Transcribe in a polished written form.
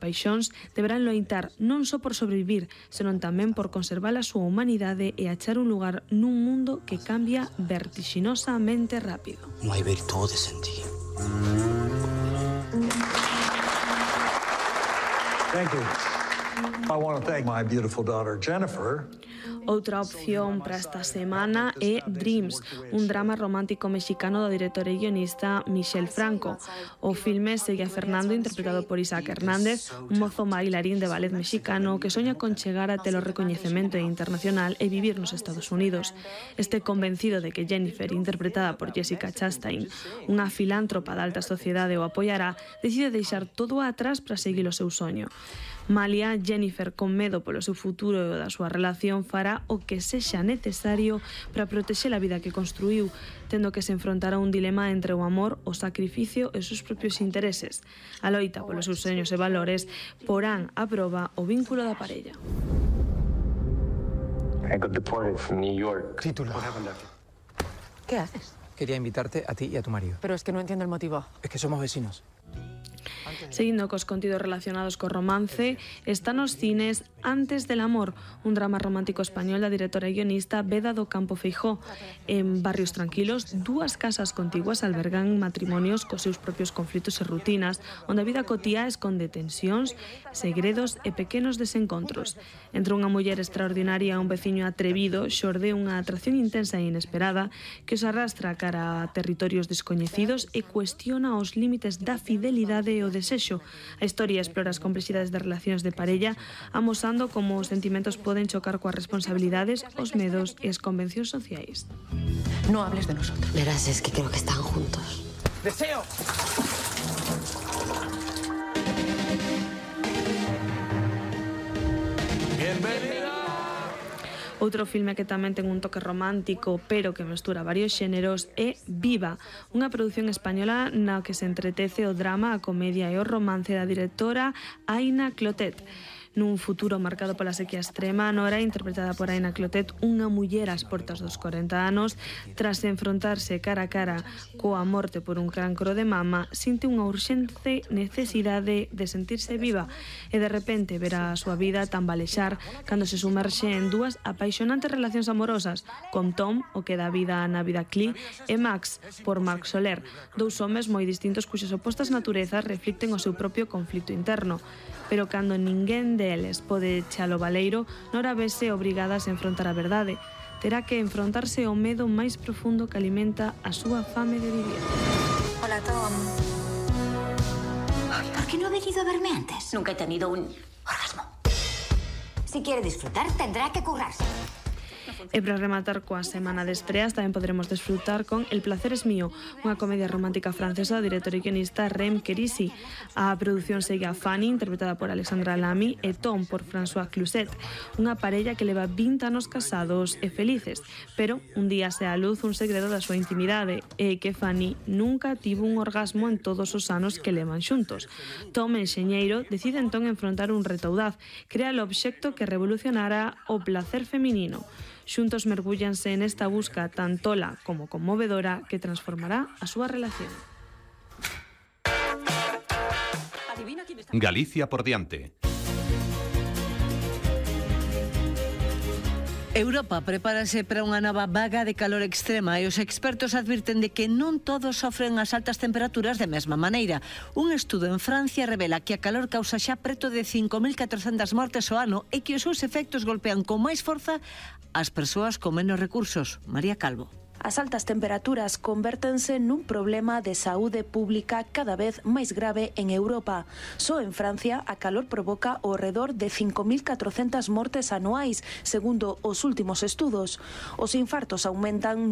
paixóns deberán loitar non só por sobrevivir, senón tamén por conservar a súa humanidade e achar un lugar nun mundo que cambia vertixinosamente rápido. No hai virtudes en ti. Thank you. I want to thank my beautiful daughter Jennifer. Outra opción para esta semana é Dreams, un drama romántico mexicano do director e guionista Michel Franco. O filme segue a Fernando, interpretado por Isaac Hernández, un mozo bailarín de ballet mexicano que soña con chegar a ter o recoñecemento internacional e vivir nos Estados Unidos. Este convencido de que Jennifer, interpretada por Jessica Chastain, unha filántropa da alta sociedade, o apoiará, decide deixar todo atrás para seguir o seu soño. Malia, Jennifer, con medo polo seu futuro e o da súa relación, fará o que sexa necesario para protexer a vida que construiu, tendo que se enfrontar a un dilema entre o amor, o sacrificio e os seus propios intereses. A loita polos seus soños e valores porán a proba o vínculo da parella. I got deported from New York. Título. ¿Qué haces? Quería invitarte a ti y a tu marido. Pero es que no entiendo el motivo. Es que somos vecinos. Seguindo cos contidos relacionados co romance, está nos cines Antes del amor, un drama romántico español da directora e guionista Beda do Campo Feijó. En Barrios Tranquilos, dúas casas contiguas albergan matrimonios cos seus propios conflitos e rutinas, onde a vida cotía esconde tensións, segredos e pequenos desencontros. Entre unha muller extraordinaria e un veciño atrevido, xorde unha atracción intensa e inesperada que os arrastra cara a territorios descoñecidos e cuestiona os límites da fidelidade e o desexo. A historia explora as complexidades das relacións de parella, amosando como os sentimentos poden chocar coas responsabilidades, os medos e as convencións sociais. No hables de nosotros. Verás, es que creo que están juntos. ¡Deseo! Outro filme que tamén ten un toque romántico, pero que mestura varios xéneros, é Viva, unha produción española na que se entretece o drama, a comedia e o romance da directora Aina Clotet. Nun futuro marcado pola sequía extrema, Nora, interpretada por Aina Clotet, unha muller ás portas dos 40 anos, tras enfrontarse cara a cara coa morte por un cancro de mama, sinte unha urxente necesidade de sentirse viva e de repente ver a súa vida tambalexar cando se sumerxe en dúas apaixonantes relacións amorosas, con Tom, o que dá vida na vida Clee, e Max, por Marc Soler, dous homes moi distintos cuxas opostas naturezas reflicten o seu propio conflito interno. Pero cando ninguén deles pode chalo baleiro, Nora vese obrigada a se enfrontar a verdade. Terá que enfrontarse ao medo máis profundo que alimenta a súa fame de vivir. Hola, Tom. ¿Por qué no ha venido a verme antes? Nunca he tenido un orgasmo. Si quiere disfrutar, tendrá que currarse. E para rematar coa semana de estreas tamén podremos desfrutar con El placer es mío, unha comedia romántica francesa do director e guionista Rem Querisi. A produción segue a Fanny, interpretada por Alexandra Lamy, e Tom, por François Cluzet, unha parella que leva 20 anos casados e felices, pero un día se a luz un segredo da súa intimidade, e que Fanny nunca tivo un orgasmo en todos os anos que levan xuntos. Tom, enxeñeiro, decide entón enfrontar un reto audaz, crea o obxecto que revolucionará o placer feminino. Xuntos mergúllanse nesta busca tan tola como conmovedora que transformará a súa relación. Galicia por diante. Europa prepárase para unha nova vaga de calor extrema e os expertos advirten de que non todos sofren as altas temperaturas de mesma maneira. Un estudo en Francia revela que a calor causa xa preto de 5.400 mortes ao ano e que os seus efectos golpean con máis forza as persoas con menos recursos. María Calvo. As altas temperaturas convértense nun problema de saúde pública cada vez máis grave en Europa. Só en Francia a calor provoca ao redor de 5.400 mortes anuais, segundo os últimos estudos. Os infartos aumentan